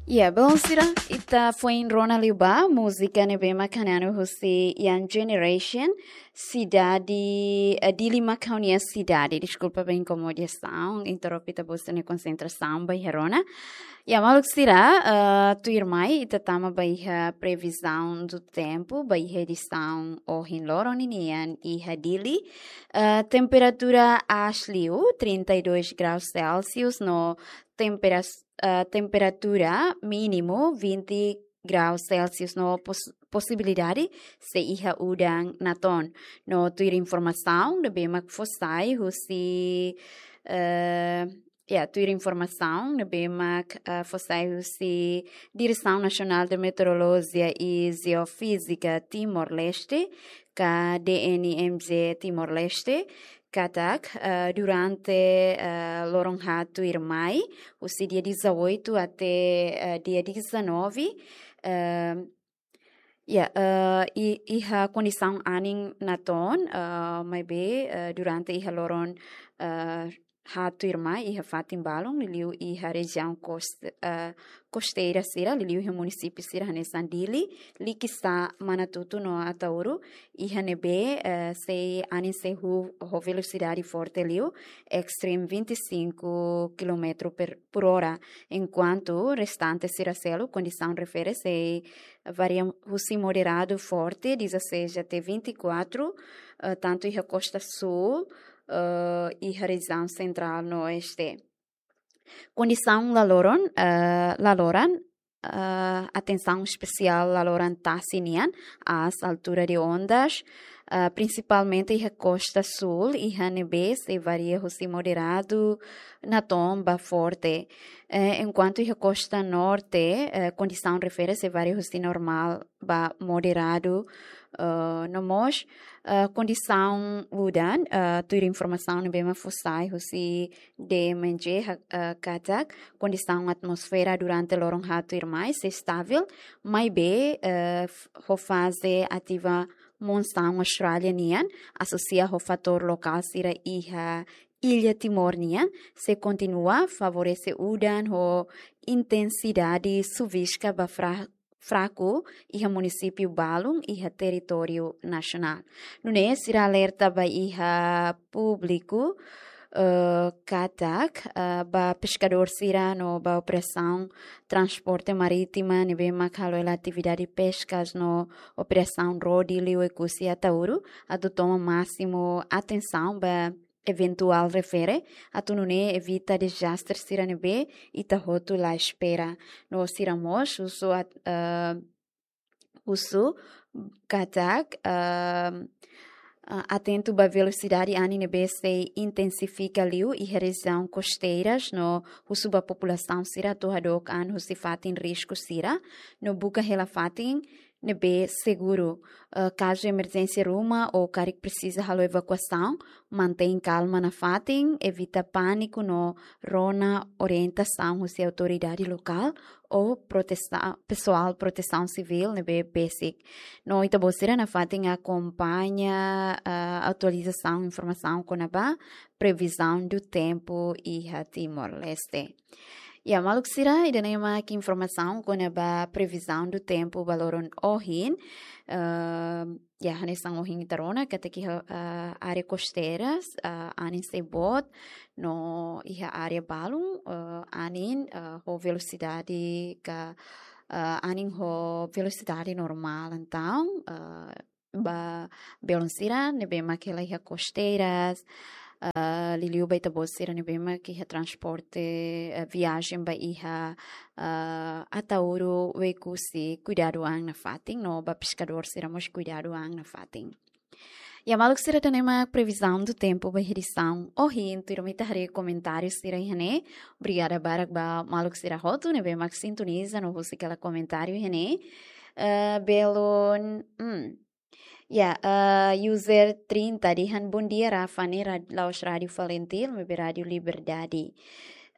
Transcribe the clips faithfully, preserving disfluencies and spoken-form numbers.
Ya, bom, sira, ita foin rona liu ba múzika ne'ebé mak hanesan husi Young Generation, Sidade, eh, Dili mak ha'u-nia sidade. Deskulpa ba inkomodasaun, interrompe ita-boot nia konsentrasaun ba iha rona. Ya, maluk sira, eh, tuirmai ita tama ba iha previsão do tempo, ba iha edisaun ohin loron ninian iha Dili. Eh, temperatura aas liu, trinta e dois graus Celsius, no tempera-, eh, temperatura mínimu vinte graus Celsius no pos-, posibilidade sei iha udan natoon. No tuir informasaun ne'ebé mak fó sai husi, eh, ya, tuir informasaun ne'ebé mak, eh, fó sai husi Direção Nacional de Meteorologia e Geofísica Timor-Leste, ka D N M G Timor-Leste, katak, eh, durante, eh, loron haat tuirmai, husi dia dezoito até, eh, dia dezanove, eh, ya, eh, i-, iha kondisaun anin natoon, eh, maibé, eh, durante iha loron, eh, haat tuirmai, iha fatin balun, liuliu iha rejiaun kost-, eh, kosteira sira, liuliu iha munisípiu sira hanesan Dili, Likisá, Manatuto no Ataúro, iha ne'ebé, eh, sei anin sei huu ho velosidade forte liu, extreme vinte e cinco quilômetro per, por hora, enkuantu restante sira seluk kondisaun refere sei varia husi moderadu forte, dezasseis até vinte e quatro, eh, tantu iha kosta súl, eh, iha rejiaun sentrál no oeste. Kondisaun laloran, eh, laloran, eh, atensaun espesiál laloran tasi nian, aas, altura de ondas, eh, prinsipalmente iha kosta súl, iha ne'ebé sei varia husi moderadu natoon ba forte. Eh, enkuantu iha kosta norte, eh, kondisaun refere sei varia husi normál ba moderadu, eh, no mós, eh, kondisaun udan, eh, tuir informasaun ne'ebé mak fó sai husi D M G ha-, eh, katak kondisaun atmosfera durante loron haat tuirmai sei estável, maibé, eh, f-, ho faze ativa monsaun Austrália nian, asosia ho fatór lokál sira iha Illa Timor nian, sei kontinua favorese udan ho intensidade suviska ba fra-, fraku iha munisípiu balun iha territóriu nasionál. Nune'e sira alerta ba iha públiku, eh, katak, eh, ba peskadór sira no ba operasaun transporte marítima ne'ebé mak halo hela atividade peskas no operasaun rode liu Oekusi Ataúro, atu toma másimu atensaun ba eventuál refere, atu nune'e evita dezastre sira ne'ebé ita hotu la espera. No sira mós husu at-, eh, husu katak, eh, eh, atentu ba velosidade anin ne'ebé sei intensifika liu iha rejiaun kosteiras no husu ba populasaun sira atu hadook an husi fatin risku sira no buka hela fatin ne'ebé seguru. Eh, kazu emerjénsia ruma ou karik presiza halo evakuasaun, mantein kalma nafatin, evita pániku no rona orientasaun husi autoridade lokál ou protesa-, pesoál protesaun sivíl ne'ebé besik. No ita-boot sira nafatin akompaña, eh, atualizasaun informasaun kona-ba previsão do tempo iha Timor-Leste. Ya, maluk sira, ida-ne'e mak informasaun kona-ba previsão do tempo ba loron ohin. Eh, ya, hanesan ohin ita rona katak iha, eh, área kosteiras, eh, anin sei boot, no iha área balun, eh, anin, eh, ho velosidade ka, eh, anin ho velosidade normál, entaun, eh, ba belun sira ne'ebé mak hela iha kosteiras, eh, liuliu ba ita-boot sira ne'ebé mak iha transporte, eh, viajen ba iha, eh, Ataúro, Oekusi, kuidadu an nafatin, no ba peskadór sira mós kuidadu an nafatin. Ya, maluk sira, ida-ne'e mak previsão do tempo ba edisaun ohin, tuirmai ita haree komentáriu sira iha ne'e. Obrigada barak ba maluk sira hotu ne'ebé mak sintoniza no husik hela komentáriu iha ne'e. Eh, belun, hmm, ya, eh, user trinta dehan, "Bom dia, Rafa, ne'e rad-, la'ós Rádio Falintil, maibé Rádio Liberdade."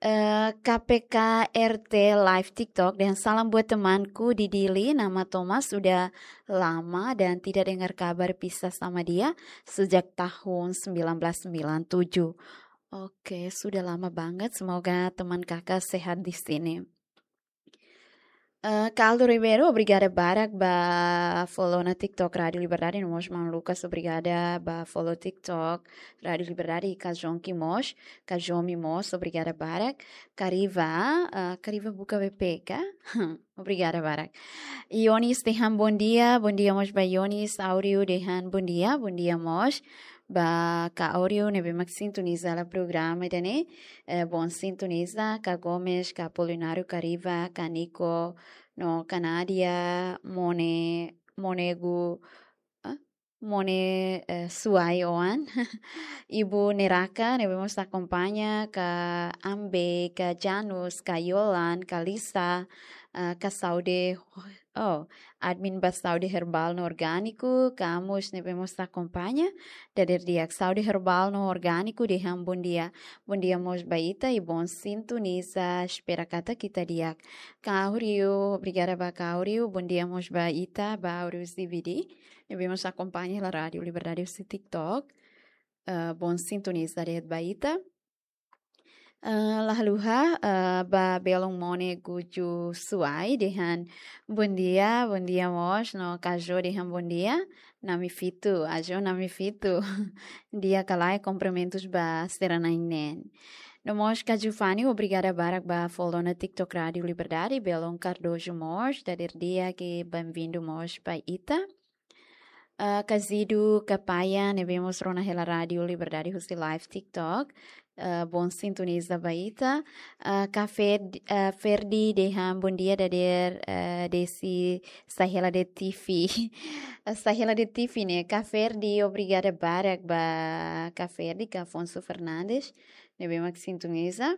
Eh, K P K R T Live TikTok dehan, "Salam buat temanku di Dili, nama Thomas, sudah lama dan tidak dengar kabar pisah sama dia sejak tahun sembilan belas sembilan tujuh." Oke, sudah lama banget. Semoga teman kakak sehat di sini. Ah, Caldo Ribeiro, obrigada barak ba follow ona TikTok Rádio Liberdade, no mós Maun Lucas, obrigada ba follow TikTok Rádio Liberdade, i Kajonki mós, Kajomi mós, obrigada barak. Kariva, ah, Kariva buka B P K, obrigada barak. Ionis dehan bondia, bondia mós ba Ionis, Áureo dehan bondia, bondia mós ba Ka Áureo ne'ebé mak sintoniza hela programa ida-ne'e, eh, bon sintoniza, Ka Gomes, Ka Apolinário, Kariva, Ka Nico, no Ka Nádia, Mone, Mone Gu, ah? Mone, eh, Suai Oan, Ibu Neraka, ne'ebé mós akompaña, Ka Ambe, Ka Janus, Ka Yolan, Ka Lisa, eh, Ka Saúde, oh, admin ba Saúde Herbal no Orgániku, Ka Amos, ne'ebé mós akompaña, dader di'ak, Saúde Herbal no Orgániku dehan bondia. Bondia mós ba ita i bon sintoniza, espera katak ita di'ak. Ka Áureo, obrigada ba Ka Áureo, bondia mós ba ita, ba Áureo Zibidi, ne'ebé mós akompaña hela Rádio Liberdade husi TikTok. Eh, bon sintoniza de'it ba ita. Eh, la haluha, eh, ba belun Mone Guju Suai dehan bondia, bondia mós, no Kajo dehan bondia, Nami Fitu, Ajo Nami Fitu. Di'ak ka lae, kumprimentus ba sira na'in-neen. No mós Ka Jufani, obrigada barak ba follow ona TikTok Rádio Liberdade, belun Cardojo mós, dader di'ak i benvindu mós ba ita. Ah, Ka Zidu, Ka Paia, ne'ebé mós rona hela Rádio Liberdade husi live TikTok. Ah, bon sintoniza ba ita. Ah, Ka Fer-, ah, Ferdi dehan bondia dader, ah, desi sai hela de'it T V. Ah, sai hela de'it T V ne'e. Ka Ferdi, obrigada barak ba Ka Ferdi, Ka Afonso Fernandes, ne'ebé mak sintoniza.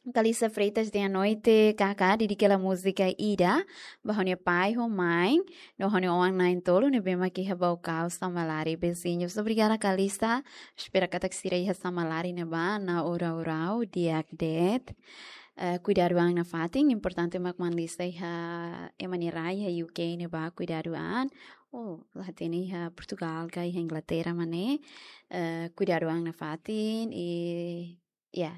Kalisa Freitas dehan boa noite, Kaká, dedika hela múzika ida ba ha'u-nia pai ho mãe, no ha'u-nia oan na'in-tolu ne'ebé mak iha Baucau, Samalari, vizinhos. Obrigada, Kalisa. Espera katak sira iha Samalari ne'ebá, na Urau-Urau, di'ak de'it. Eh, kuidadu an nafatin, importante mak Maun Lisa iha ema nia rai iha U K ne'ebá, kuidadu an. Oh, la hatene iha Portugal ka iha Inglaterra mak ne'e. Eh, kuidadu an nafatin, i ya,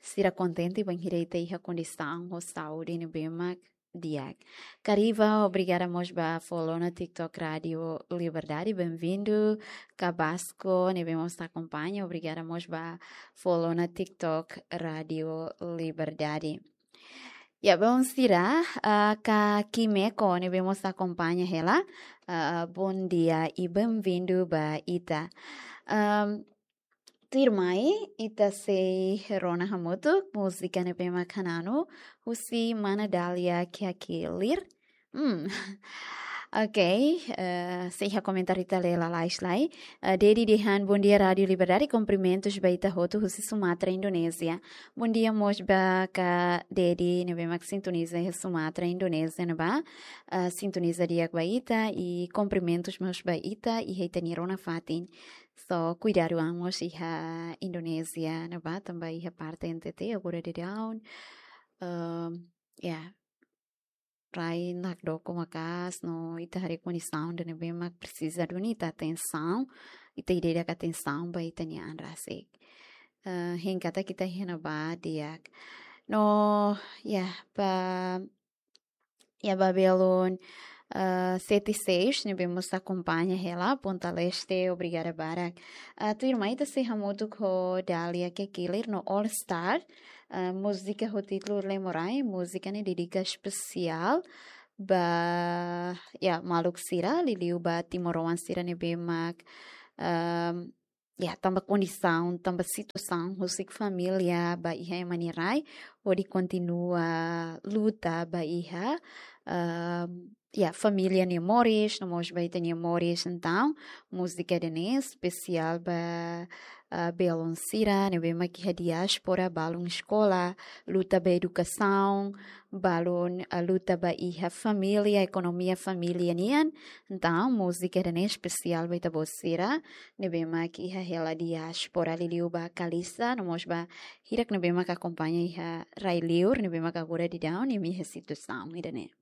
sira kontente bainhira ita iha kondisaun ho saúde ne'ebé mak di'ak. Kariva, obrigada mós ba follow ona TikTok Rádio Liberdade, benvindu. Ka Basko, ne'ebé mós akompaña, obrigada mós ba follow ona TikTok Rádio Liberdade. Ya, belun sira, ah, Ka Kimeko, ne'ebé mós akompaña hela, ah, bondia i benvindu ba ita. Am, tuirmai, ita sei rona hamutuk múzika ne'ebé mak hananu, husi mana Dália Kiakilir. Hmm. Ok, eh, sei iha komentáriu ita lee lalais lai. Eh, Dedi dehan bondia Rádio Liberdade, kumprimentus ba ita hotu husi Sumatra, Indonézia. Bondia mós ba Ka Dedi, ne'ebé mak sintoniza iha Sumatra, Indonézia, ne'ebá. Eh, sintoniza di'ak ba ita, i kumprimentus mós ba ita, iha ita-nia rona fatin. So, kuidadu an mós iha Indonézia, ne'ebá, tanba iha parte N T T, agora daudaun. Ehm, ya, rai nakdoko maka'as, no ita haree kondisaun ida ne'ebé mak presiza duni ita atensaun, ita ida-idak atensaun ba ita-nia an rasik. Eh, hein katak ita iha ne'ebá di'ak. No, ya, ba, ya, ba belun, eh, Sete Seis, ne'ebé mós akompaña hela, Ponta Leste, obrigada barak. Eh, tuirmai ita sei hamutuk ho Dália Kiakilir no All Star, eh, múzika ho títulu Lemorai, múzika ne'e dedika espesiál ba, ya, maluk sira, liuliu ba timoroan sira ne'ebé mak, ehm, ya, tanba kondisaun, tanba situasaun husik família ba iha ema nia rai, hodi kontinua luta ba iha, ehm, ya, família nia moris, no mós ba ita-nia moris. Entaun, múzika ida-ne'e espesiál ba, ah, belun sira ne'ebé mak iha diáspora, balun eskola, luta ba edukasaun, balun, ah, luta ba iha família, ekonomia família nian. Entaun, múzika ida-ne'e espesiál ba ita-boot sira ne'ebé mak iha hela diáspora, liuliu ba Kalisa, no mós ba hirak ne'ebé mak akompaña iha rai-liur, ne'ebé mak agora daudaun imi iha situasaun ida-ne'e.